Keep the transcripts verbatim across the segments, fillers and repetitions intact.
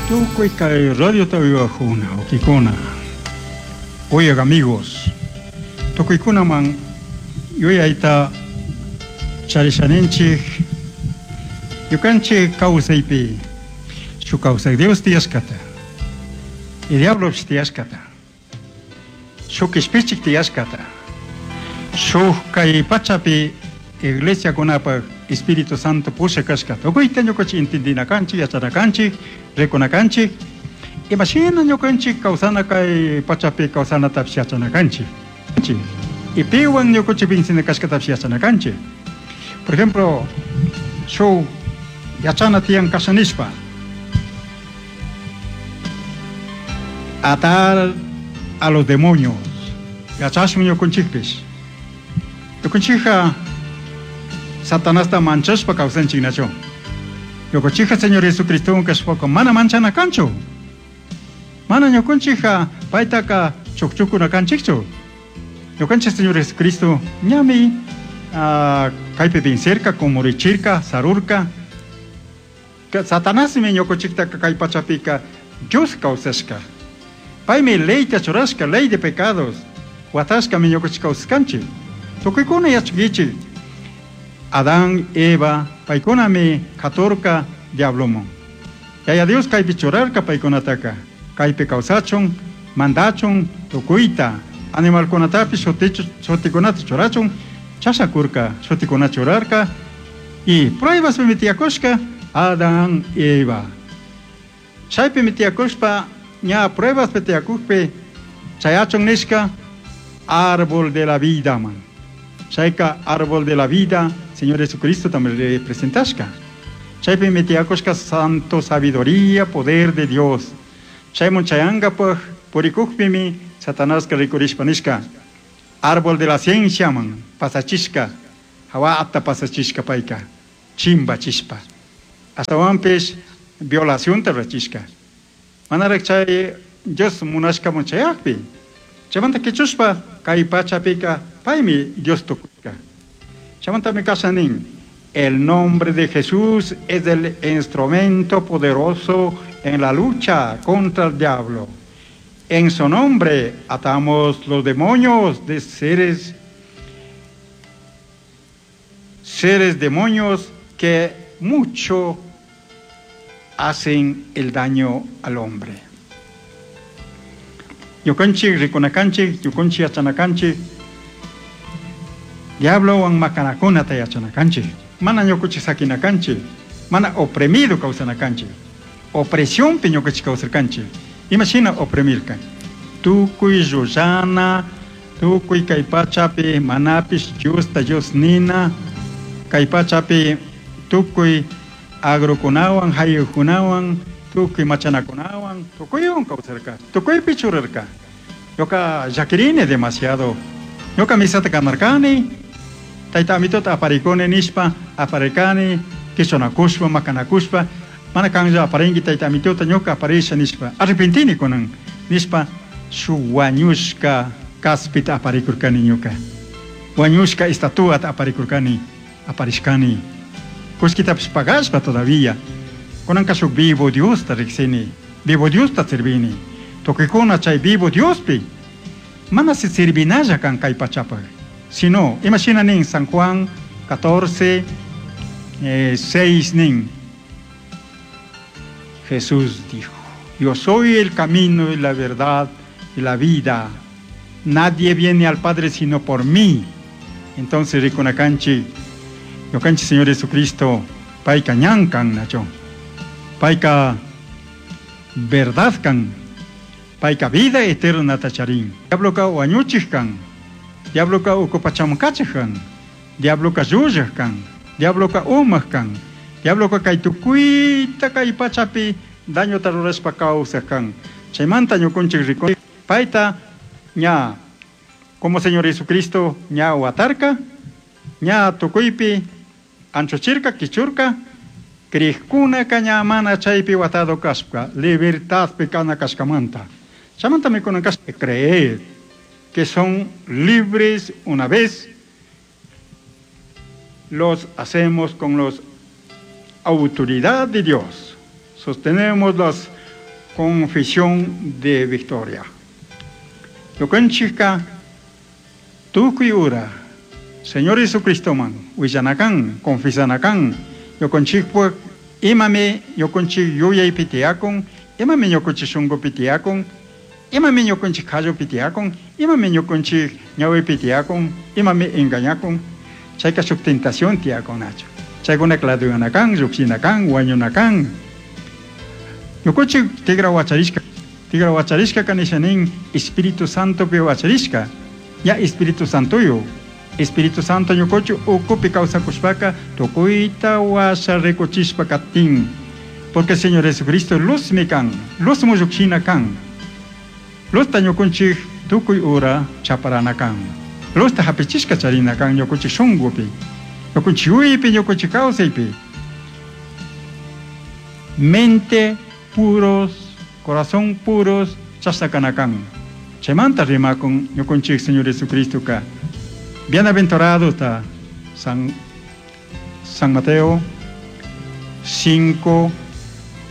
Tukuy kay radiota uywakuna, ukikuna. Oigan amigos, tukuykunaman yuyayta charishaninchik ñukanchik kawsaypi shuk kawsay Dios tiyashkata y diablopish tiyashkata shuk kishpichik tiyashkata shuk kay pachapi iglesiakunapaq Espíritu Santo pusha kashkata tukuyta ñukanchik entendina kanchik yachana kanchik rikuna kanchik imashina ñukanchik kawsana kay pachapi kawsanatapish yachana kanchik y piwan ñukanchik vencina kashkatapish yachana kanchik. Por ejemplo, shuk yachana tiyan kasha nishpa atar a los demonios yachashun ñukanchikpish ñukanchikqa Satanasta manchashpa kawsanchik nachu ñukanchikqa Señor Jesucristowan kashpaka mana manchana kanchu mana ñukanchikqa paytaka chukchukuna kanchikchu ñukanchik Señor Jesucristo ñami uh, kaypi vencerka kumurichirka sarurka Satanasmi ñukanchiktaka kay pachapika Dios kawsashka paymi leyta churashka ley de pecados watashkami ñukanchik kawsaskanchik tukuykuna yachankichik Adán, Eva, paykunami katurka diabloman Yaya Dios kaypi churarka paykunataka kaypi kawsachun mandachun tukuyta animalkunatapish shutikunata churachun chashakurka shutikunata churarka y pruebaspi tiyakushka Adán, Eva chaypimi tiyakushpa ña pruebaspi tiyakukpi chayachun nishka árbol de la vida man chayka árbol de la vida Señor Jesucristo también representashka chaypimi tiyakushka santo sabiduría poder de Dios chaymun chayankapaj purikukpimi Satanaska rikurishpa nishka árbol de la ciencia man pasachishka hawata pasachishka payka chimbachishpa ashtawanpish violacionta rurachishka manarak chay Dios munashkamun chayakpi chaymanta kichushpa kay pachapika paymi Dios tukushka chaymantami kasha nin el nombre de Jesús es el instrumento poderoso en la lucha contra el diablo. En su nombre atamos los demonios de seres, seres demonios que mucho hacen el daño al hombre. Ñukanchik rikunakanchik, ñukanchik yachanakanchik, diablowan makanakunata yachanakanchik, mana ñukanchik sakinakanchik, mana oprimido kawsanakanchik, opresionpi ñukanchik kawsarkanchik. Imashina oprimirkan tukuy llullana tukuy kay pachapi manapish Diosta Dios nina kay pachapi tukuy agrokunawan hayukunawan tukuy machanakunawan tukuywan kawsarka tukuypi churarka ñuka llakirini demasiado ñuka misata kanarkani tayta amitota aparikuni nishpa aparikani kichunakushpa makanakushpa mana kanlla aparinki tayta amitota ñuka aparisha nishpa arrepentini kunan nishpa shuk wañushka kaspita aparikurkani ñuka wañushka estatuata aparikurkani aparishkani kullkitapish pagashpa todavía kunanka shuk vivo Diosta riksini vivo Diosta servini tukuykuna chay vivo Diospi mana si servinalla kan kay pachapaq sino imashina nin San Juan catorce eh, seis nin Jesús dijo, yo soy el camino y la verdad y la vida. Nadie viene al Padre sino por mí. Entonces rikunakanchik, ñukanchik Señor Jesucristo, payka ñan kan nacho. Payka verdad kan, payka vida eterna tacharin. Diabloka wañuchik kan, diabloka uku pachaman kachik kan, diabloka llullak kan, diabloka umak kan, diabloka kay tukuyta kay pachapi dañota rurashpa kawsaq kan. Chaymanta ñukunchik rikunchik payta ña como Señor Jesucristo ña watarka, ña tukuypi anchuchirka, kichurka, krikkunaka ña mana chaypi watado kashpa, libertadpi kana kashkamanta. Chaymantami kunan kashpa creer que son libres una vez los hacemos con la autoridad de Dios. Sostenemos las Confesión de victoria. Ñukanchikka tukuy ura Señor Jesucristoman willanakan, confesanakan, ñukanchikpak imami ñukanchik yuyaypi tiyakun, imami ñukanchik shunkupi tiyakun, imami ñukanchik qallupi tiyakun, imami ñukanchik ñawipi tiyakun, imami engañakun, chayka shuk tentación tiyakun nachu. Chaykuna claduyanakan, llukshinakan, wañunakan. Ñukanchik tigra wacharishka, tigra wacharishka kanishanin Espíritu Santopi wacharishka, ya Espíritu Santoyo. Espíritu Santo ñukanchik ukupi kawsakushpaka tukuyta washa rikuchishpa katin. Porque Señor Jesucristo luzmi kan, luz muyukshina kan. Luzta ñukanchik tukuy ura chaparana kan. Luzta hapichishka charina kan ñukanchik shunkupi. Ñukanchik yuyaypi, ñukanchik kawsaypi. Mente puros, corazón puros, chashna kana kan. Chaymanta rimakun ñukanchik Señor Jesucristo ka. Bienaventurado está San, San Mateo cinco,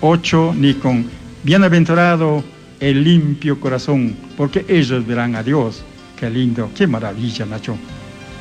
ocho, nikun. Bienaventurado el limpio corazón, porque ellos verán a Dios. Qué lindo, qué maravilla, Nacho.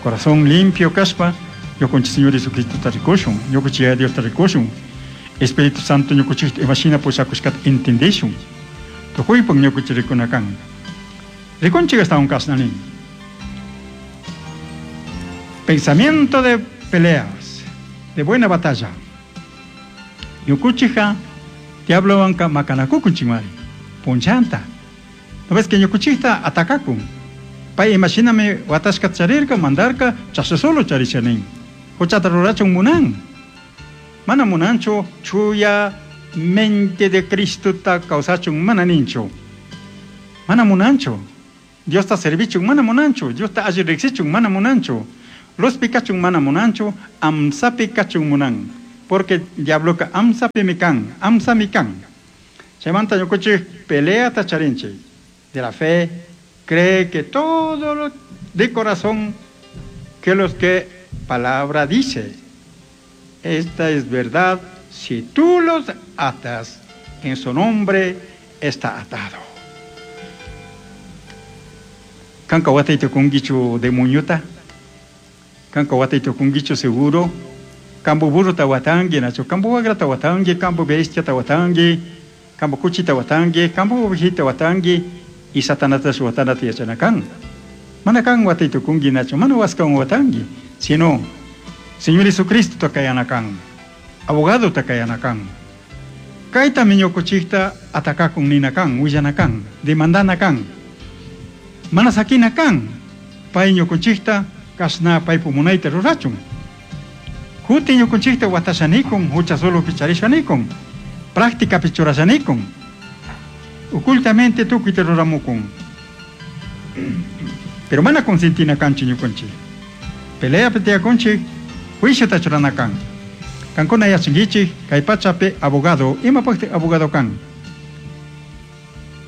Corazón limpio, kashpa, ñukanchik Señor Jesucristo tarikushun, ñukanchik Dios tarikushun. Espíritu Santo ñukanchik imashina pushakushkata entendishun. Tukuypak ñukanchik rikunakan. Rikunchik astawan kashna nin. Pensamiento de peleas, de buena batalla. Ñukuchija, diablowanka makanakukunchikmari, punchanta. ¿No ves que ñukuchikta atakakun? Pay imashinami watashka charirka, mandarka, chasha solo charishanin. Huchata rurachun munan. Mana munanchu, chuya mente de Cristo ta kawsachun mana ninchu. Mana munanchu. Dios ta servichun mana munanchu. Dios ta alli riksichun mana munanchu. Luzpi kachun mana munanchu, amsapi kachun munan. Porque diabloka amsapi mi kan, amsami kan. Chaymanta ñukanchik pelea ta charinchik. De la fe, cree que todo lo de corazón que los que palabra dice. Esta es verdad, si tú los atas, en su nombre está atado. Kanka watay tukungichu demonio-ta. Kanka watay tukungichu seguro. Kambo burro ta watangi, nacho. Kambo wagra ta watangi, kambo bestia ta watangi, kambo kuchi ta watangi, kambo ovejita watangi, y satanata su watanata yachanakan. Mana kan watay tukungi, nacho. Mana waskan watangi, sino Señor Jesucristo takayanakan, abogado takayanakan. Kayta miñukuchikta atakakun ninakan, willanakan, demandanakan. Mana sakinakan, pay ñukunchikta kashna paypu munayta rurachun. Huti ñukunchikta watashanikun, hucha solo picharishanikun, práctica pichurashanikun. Ocultamente tukuyta ruramukun. Pero mana consentinakanchi ñukunchik. Pelea piteakunchik, juicio ta churanakan. Kankuna yachankichik, kay pachapi abogado, imapaqti abogado kan.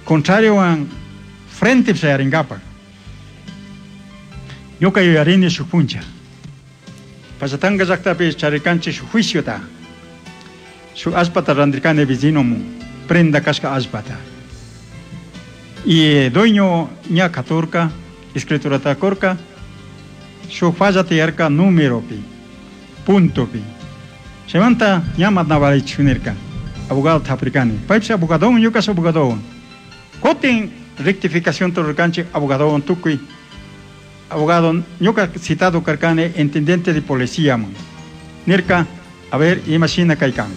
Contrario an frente shayarinkapak. Ñuka yuyarini shuk puncha. Pachatanga llaktapi charikanchik shuk juiciota. Shuk allpata randirkani vecinomun, prenda kashka allpata. Y dueño ña katurka, escriturata kurka, shuk falla tiyarka numeropi, puntopi. Chaymanta ña matnavarichu nirka, abogado taprikani. Paypish abogadon, ñukash abogadon. Kutin rectificación rurkanchik abogadon tukuy. Abogado, ñuka citado karkani intendente de policía man. Nirka, a ver, imashina kaykan.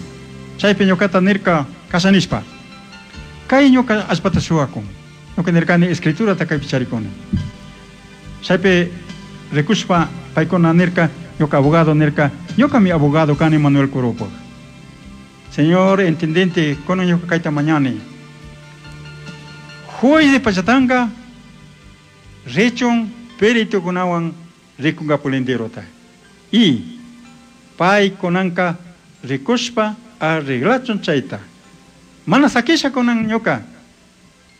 Chaypi ñukata nirka kashanishpa. Kay ñuka allpata shuwakun. Ñuka nirkani escriturata kaypi charikuni. Chaypi rikushpa paykuna nirka, ñuka abogado nirka, ñuka mi abogado kani Manuel Curupo. Señor intendente, kunan ñuka kayta mañani. Juez de Pachatanga, richun perito kunawan rikunga pulindirota. Y pay kunanka rikushpa arreglachun chayta. Mana sakisha kunan ñuka.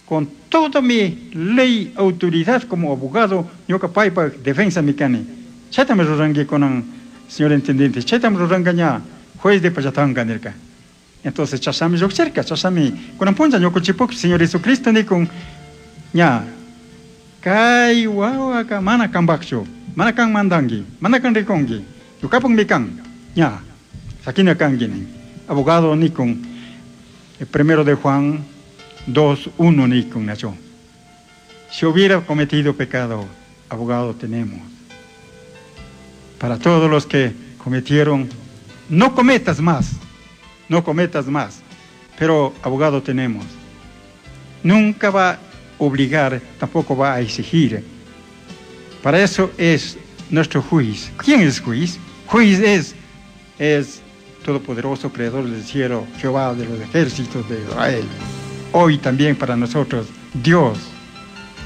Con toda mi ley, autoridad como abogado, ñuka paypa defensa mi kani. Chayta me rurangi kunan, señor intendente, chayta me ruranga ña, juez de Pachatanga nirka. Entonces chashnami llukchirka, chashnami kunan punlla ñukanchikpuk Señor Jesucristo nikun ña kay wawaka mana kanpakchu, mana kan mandanki, mana kan rikunki, ñukapukmi kan, ña sakina kanki nin. Abogado nikun, el primero de Juan dos uno nikun nacho. Si hubiera cometido pecado, abogado tenemos. Para todos los que cometieron, no cometas más, no cometas más, pero abogado tenemos. Nunca va a obligar, tampoco va a exigir. Para eso es nuestro juez. ¿Quién es juez? Juez es, es todopoderoso, creador del cielo, Jehová de los ejércitos de Israel. Hoy también para nosotros, Dios,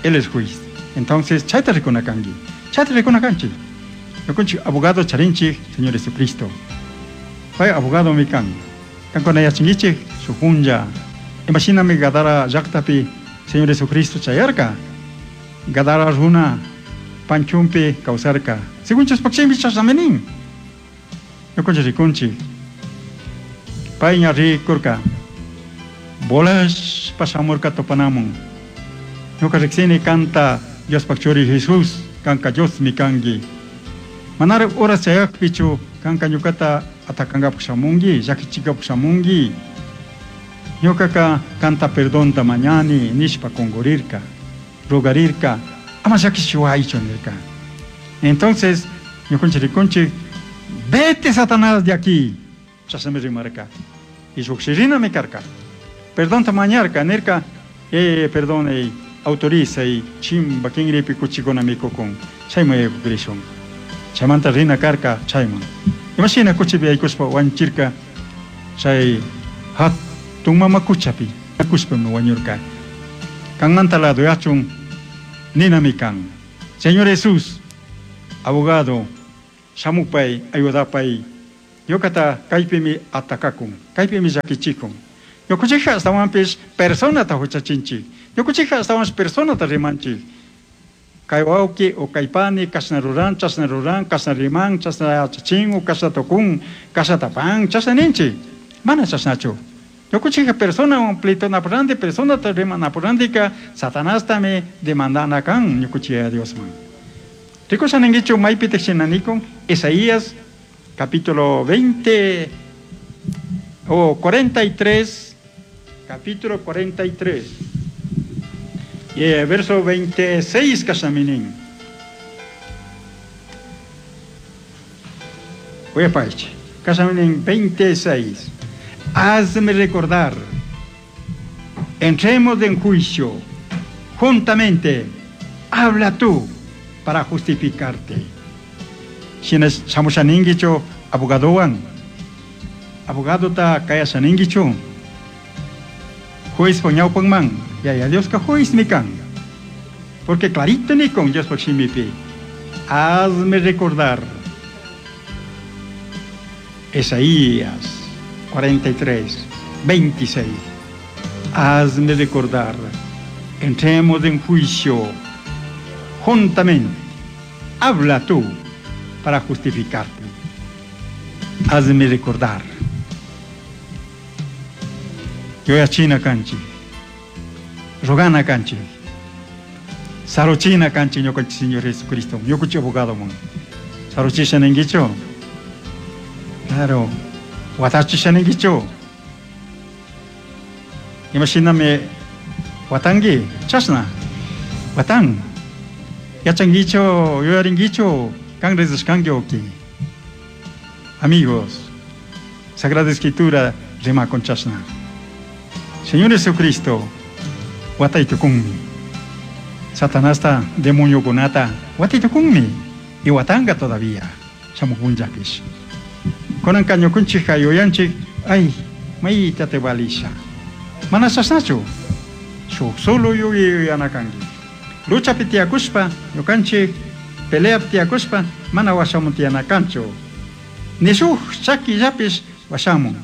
Él es juez. Entonces, chayta rikunakanki, chayta rikunakanchik. Ñukanchik abogado charinchik, Señor Jesucristo. Pay abogado mi kan. Kankuna yachankichik, shuk punlla. Imashinami Gadara llaktapi Señor Jesucristo chayarka. Gadara runa panchumpi kawsarka. Según Diospaj chashnami nin. Ñukanchik rikunchik. Pay ña rikurka. Volashpa shamurka tupanamun. Ñuka riksini kanta Diospaj churi Jesús, kanka Diosmi kanki. Manara horas chayakpichu kanka ñukata atakankapak shamunki, llakichikapak shamunki. Ñukaka kanta perdonta mañani nishpa kungurirka, rogarirka, ama llakichiwaychu nirka. Entonces, ñukanchik rikunchik, vete Satanás de aquí, chashnami rimarka. Y llukshirinami karka. Perdonta mañarka, nirka, eh, perdone, autoriza y chimba kinripi kuchikuna mikukun, chayman yaykukrishun. Chaymanta rina karka chayman. Imashina kuchipi yaykushpa wanchirka, chay hatun mama kuchapi kushpami wañurka. Kanmanta ladoyachun ninami kan. Señor Jesús, abogado, shamupay, ayudapay, ñukata kaypimi atakakun, kaypimi llakichikun. Ñukanchikka ashtawanpish personata huchachinchik. Ñukanchikka ashtawanpish personata rimanchik. Kay wawki o kay pani kashna ruran, chashna ruran, kashna riman, chashna yachachin o kashna tukun, kashna tapan, chashna ninchik. Mana chashnachu. Ñukanchikka personawan pleitunapurranti, personata rimanapurrantika, Satanastami demandana kan ñukanchik Yaya Diosman. Rikusha ninkichu maypitik shina nikun, Isaías capítulo veinte o cuarenta y tres, capítulo cuarenta y tres, y el verso veintiséis kashaminin. Voy a paich. Kashaminin veintiséis. Hazme recordar. Entremos en juicio. Juntamente. Habla tú para justificarte. Shina shamushaningicho abogadowan. Abogado ta kaya shaningicho. Juez poñaupanman. Ya, ya, Dios ka juez mi kan. Porque clarito ni con Dios shimipi. Hazme recordar. Isaías cuarenta y tres, veintiséis. Hazme recordar. Entremos en juicio juntamente. Habla tú para justificarte. Hazme recordar. Yo ya china canchi. Rogana canchi. Sarochina canchi ñukanchik Señor Jesucristo. Ñukanchik abogado mon. Sarochisha ninkichu. Claro. Watachisha ninkichu. Imashinami watanki. Chashna. Watan. Yachankichu, yuyarinkichu. Kan rezashkanki oki. Amigos, Sagrada Escritura rima con chashna. Señor Jesucristo, wataytukunmi. Satanasta demoniokunata wataytukunmi. Y watanga todavía. Shamukunllapish. Kunanka ñukunchikka yuyanchik, ay, mayta te valisha. Mana chashnachu. Shuk solo yuyanakanki. Luchapi tiyakushpa, ñukanchik peleapi tiyakushpa, mana washamun tiyanakanchu. Ni shuk chakillapish washamun.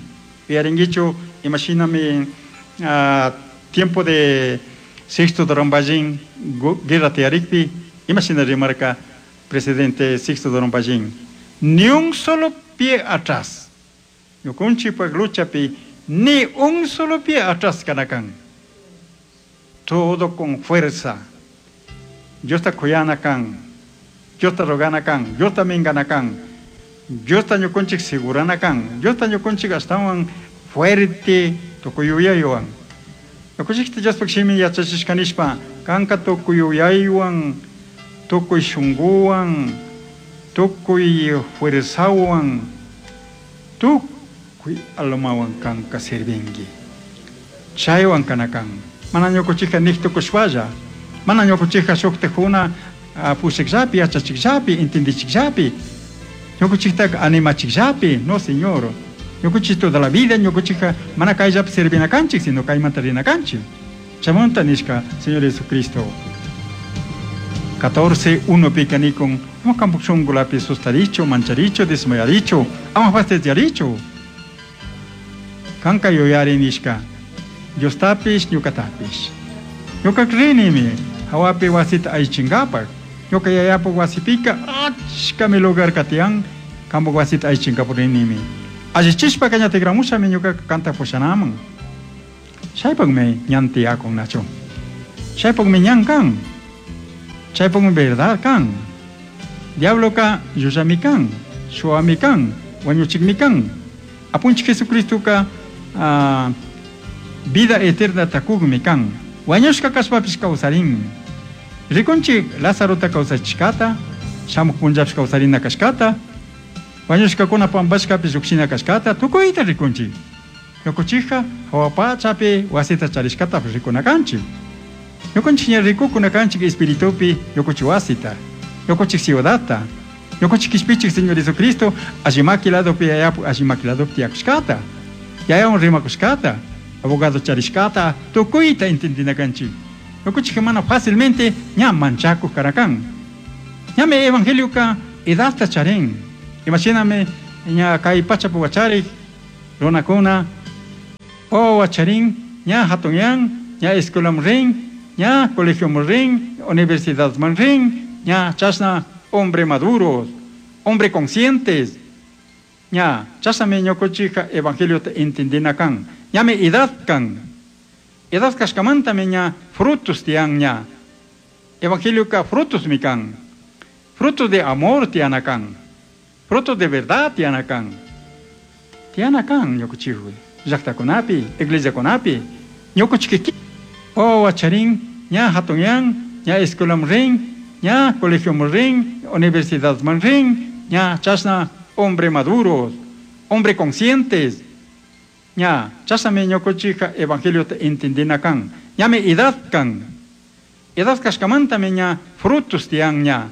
Uyarinkichu, imashinami, ah, tiempo de Sixto Dorón guerra tiyarikpi, imashina rimarka presidente Sixto Durán Ballín. Ni un solo pie atrás. Ñukanchikpak luchapi Ni un solo pie atrás kana kan. Todo con fuerza. Diosta kuyana kan. Diosta rogana kan. Diosta mingana kan. Diosta ñukunchik segurana kan. Diosta ñukunchik ashtawan fuerte tukuy yuyaywan. Ñukunchikta Diospaq shimi yachachishkanishpa kanka tukuy yuyaywan, tukuy shunguwan, tukuy fuerzawan, tukuy almawan kanka sirvinki. Chaywan kana kan. Mana ñukunchikka nik tukushpalla, mana ñukunchikka shuktakuna pushakllapi, yachachikllapi, entendichikllapi, ñukunchiktaka animachikllapi, no señor. Ñukunchik toda la vida ñukunchikka mana kayllapi servina kanchik, sino kaymanta rina kanchik. Chaymanta nishka, Señor Jesucristo. catorce uno pika nikun, ama kanpak shunkulapi sustarichu, mancharichu, desmayarichu, ama fastidiarichu. Kanka yuyari nishka, Diostapish, ñukatapish. Ñuka rinimi, hawapi wasita aychinkapak. Ñuka yayapak wasipika achkami lugar katiyan, kanpak wasita aychinkapak rinimi. Allichishpaka ña tikramushami ñuka kanta pushanaman. Chaypakmi ñan tiyakun nachu. Chaypakmi ñan kan. Chaypakmi verdad kan. Diabloka llullami kan, shuwami kan, wañuchikmi kan. Apunchik Jesucristoka uh, vida eterna takukmi kan. Wañushka kashpapish kawsarin. Rikunchik Lazarota kawsachishkata, shamuk punllapish kawsarina kashkata, wañushkakuna pampashkapish llukshina kashkata, tukuyta rikunchik. Ñukunchikka hawa pachapi wasita charishkatapish rikuna kanchik. Ñukunchik ña rikukuna kanchik espiritupi ñukunchik wasita, ñukunchik ciudadta, ñukunchik kishpichik Señor Jesucristo allimaki ladopi yayapu allimaki ladopi tiyakushkata, yayawan rimakushkata, abogado charishkata, tukuyta entendina kanchik. Ñukunchik mana fácilmente ña manchakuq karakan. Ñami evangelioka edadta charin. Imashinami ña kay pachapi wacharik runakuna wawa wacharin ña hatunyan, ña escuelaman rin, ña colegioman rin, universidadman rin, ña chashna hombre maduros, hombre conscientes. Ña chashnami ñukunchikka evangeliota entendina kan. Ñami edad kan. Edad kashkamantami ña frutos tiyan ña. Evangelioka frutos mi kan. Frutos de amor tiyana kan. Frutos de verdad tiyana kan. Tiyana kan ñukunchikwi. Llaqtakunapi, iglesiakunapi, ñukunchik wawa wacharin, ña hatunyan, ña escuelaman rin, ña colegioman rin, universidadman rin, ña chashna hombre maduros, hombre conscientes. Ña chashnami ñukunchikka evangeliota entendina kan. Ñami edad kan. Edad kashkamantami ña frutos tiyan ña.